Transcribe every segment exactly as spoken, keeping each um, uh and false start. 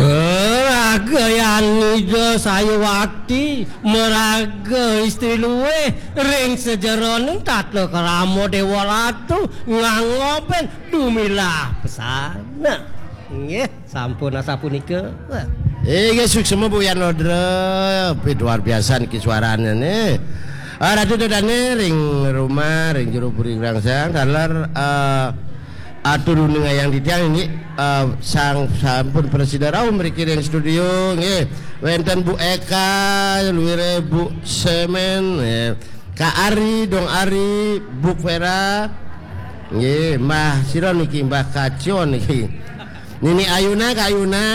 Raga Yanida Sayawati, maraga istri luwih ring sajeroning tata krama Dewa Ratu, ngangobin dumilah pesan. Nah, nggih, sampun asapunika. Inggih, suksma Bu Yan Rodra, luar biasa niki suarane nih. Ah, Ratu Dadane ring rumah, ring jero puri rangsang, taler, eh, atur uningayang titiang inggih, eh, sang sampun prasida rauh mriki ring studio, nggih. Wenten Bu Eka, luire Bu Semen, nggih. Kak Ari, Dong Ari, Bu Vera. Nggih, Mbah sira niki, Mbah Kacion niki. Nini Ayuna, Kak Ayuna,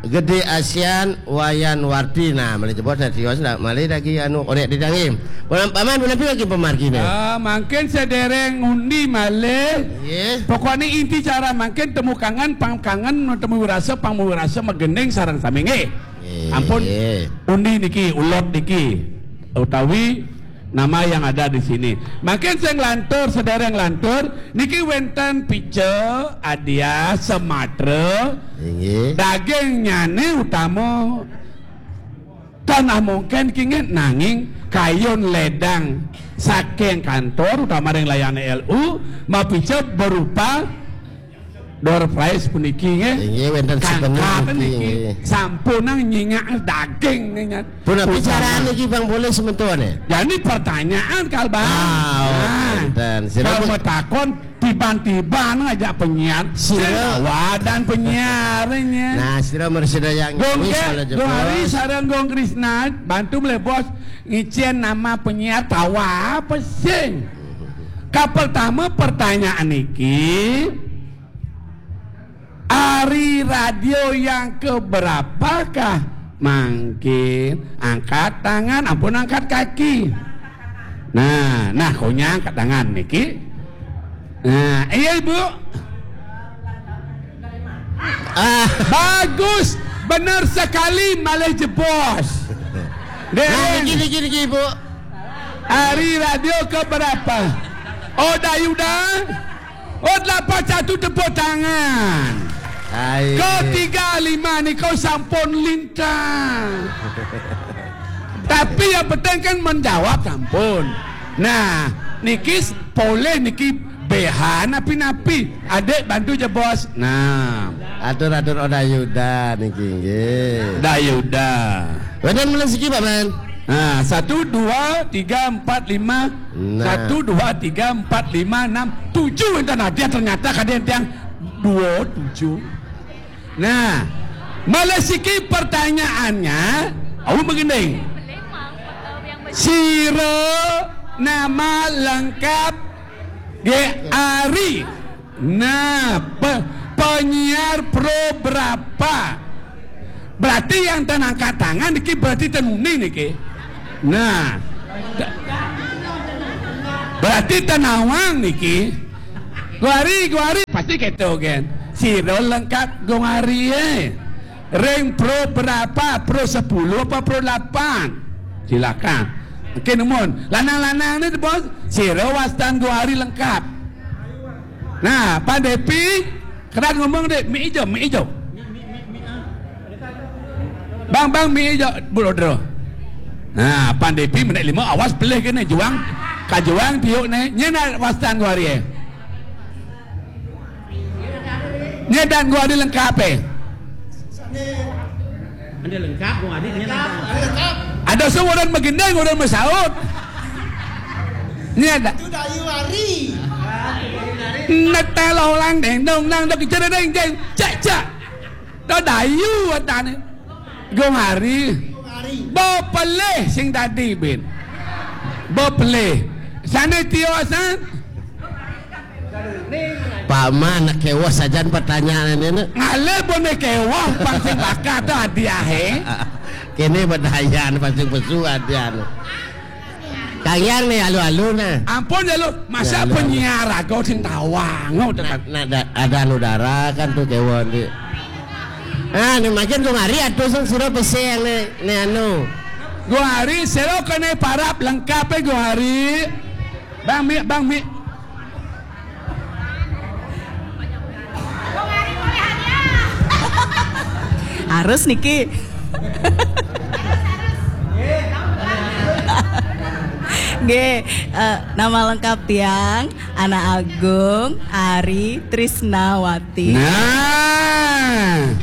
Gede Asian, Wayan Wardi. Nah, malih jebos, nah, tios, nah, malih lagi anu, onek didangi. Paman, paman, punapi lagi pemargine? Ah, mangkin sedereng ngundi malih. Nggih. Pokokne inti cara mangkin temu kangen, pang kangen, temu wirasa, pang wirasa, magending sareng sami, nggih. Nggih. Ampun. Undi niki, ulot niki, utawi nama yang ada di sini. Mangkin sing lantur, sedereng lantur, niki wenten pica, adia, sematra, inggih, dagingnyane utama tanah mongken kingit, nanging kayun ledang saking kantor, utama ring layane L U, mapica berupa door prize puniki, nggih. Inggih, wenten souvenir kangkang niki, niki, nggih. Sampunang nyingak daging niki. Punapi carane niki, Bang, boleh sementone? Jani pertanyaan, Kal Bang. Ah, oh, nah, wenten. Sira kalau matakon tiban-tiban ngajak penyiar, sira wadan penyiarnya. Nah, sira mresida yang Gong wis Ge-, kalau Gong jebos. Ari sareng Gong Krisna, bantu malih bos ngicen nama penyiar tawa apa sih? Kapertama pertanyaan niki, ari radio yang keberapakah? Mangkin angkat tangan, ampun angkat kaki. Nah, nah, konya angkat tangan niki. Nah, iya, Ibu. Ah, bagus, benar sekali, malih jebos. Nah, niki, niki, niki, Ibu. Ari radio keberapa? Oh, Dayuda. Oh, delapan satu, tepuk tangan. Hai. Ke tiga lima ni kau sampun lintang. Tapi yang penting kan menjawab sampun. Nah, niki s-, boleh niki behan napi-napi. Adik bantu je, Bos. Nah. Atur-atur Oda Yuda niki nggih. Oda Yuda. Wenten malih siki, Pak Man? Nah, satu, dua, tiga, empat, lima. Nah. Satu, dua, tiga, empat, lima, enam, tujuh. Enten hadiah ternyata kadian tiang dua, tujuh. Nah, malih siki pertanyaannya, au begini. Sira nama lengkap G Ari. Nah, pe-, penyiar pro berapa? Berarti yang ten angkat tangan niki berarti ten uning niki. Nah. Da-, berarti ten nawang niki. Guari, guari, pasti keto, gen. Sira lengkap Gong Ari, eh. Ring pro berapa? Pro sepuluh apa pro delapan? Silakan. Oke, numun. Lanang-lanang ni, Bos. Sira wastan Gong Ari lengkap. Nah, Pan Depi, kerat ngomong, Dek, mik ijo, mik ijo. Bang, bang, mik ijo, bulodro. Nah, Pan Depi menek lima, awas pelih kene, juang. Kajuang tiuk ne, nyen wastan Gong Ari, eh. Nyen dan Gong Ari lengkap, eh. Ada lengkap, Gong Ari, nyen lengkap. Ada sing orang magending, orang masaut. Nyen ada. Itu Dayu Ari. Netel orang deng dong nang dok jere deng deng. Cek, cek. To Dayu watane. Gong Ari. Bepelih sing dadi, bin. Bepelih. Sane tiosan. Paman, nak kewas sajan pertanyaan ini, nak. Ngalih bone kewas, pang sing bakat to hadiahe. Kene bedayan, pasti pesu hadiah. Kang Yang nih, alu-alu, nah. Ampun ya, lu. Masa ya, lu, penyiar aku sing tawang, udah nak, kan. Nak da-, ada anu darah kan tuh kewon di. Ah, ini makin Gong Ari atuh sing sira peseng nih, nih anu. Gong Ari, sira kene parap lengkap ya, Gong Ari. Bang Mik, Bang Mik. Harus niki. Nggih, eh, nama lengkap tiang Ana Agung Ari Trisnawati. Nah.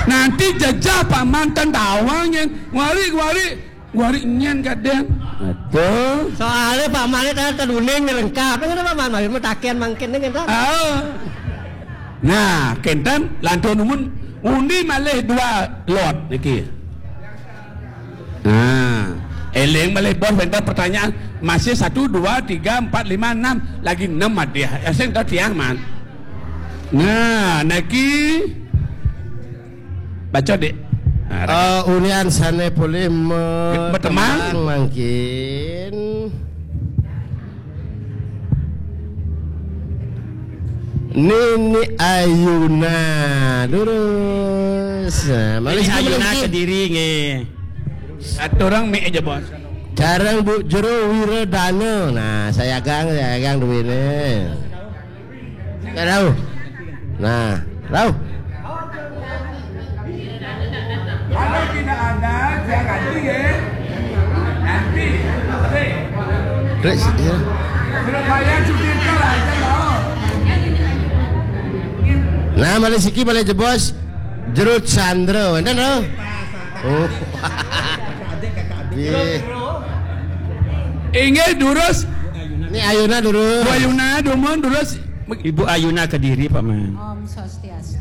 Nanti jejah Pak Mantan tawang yang wari-wari Wari nyen kadang. Aduh. Soalnya Pak Malik tadi teduning lengkap. Kan Pak Malik mah takian mangkin nih kan. Ah. Nah, kenten lantun umun undi malih dua lot niki. Nah, eling malih bos wenten pertanyaan masih satu, dua, tiga, empat, lima, enam, lagi enam madih. Asing tau tiang man. Nah, niki baca, Dik. Nah, eh, unian sane polih me-, betemang mangkin. Nini Ayuna durus. Nah, Nini Ayuna Kediri nggih. Satu orang mik aja, Bos. Jarang Bu Jero Wiradana. Nah, saya gang, saya gang duwene. Nggak tahu. Nah, tahu. Kalau tidak ada, saya ganti ya. Nanti. Terus, ya. Surabaya cuti aja lah, saya tahu. Nah, malih siki malih jebos Jero Chandra, wenten lho. Oh. Nggih. Inggih durus. Ini Ayuna durus. Bu Ayuna dumun durus. Ibu Ayuna Kediri, Pak Man. Om Swastiastu.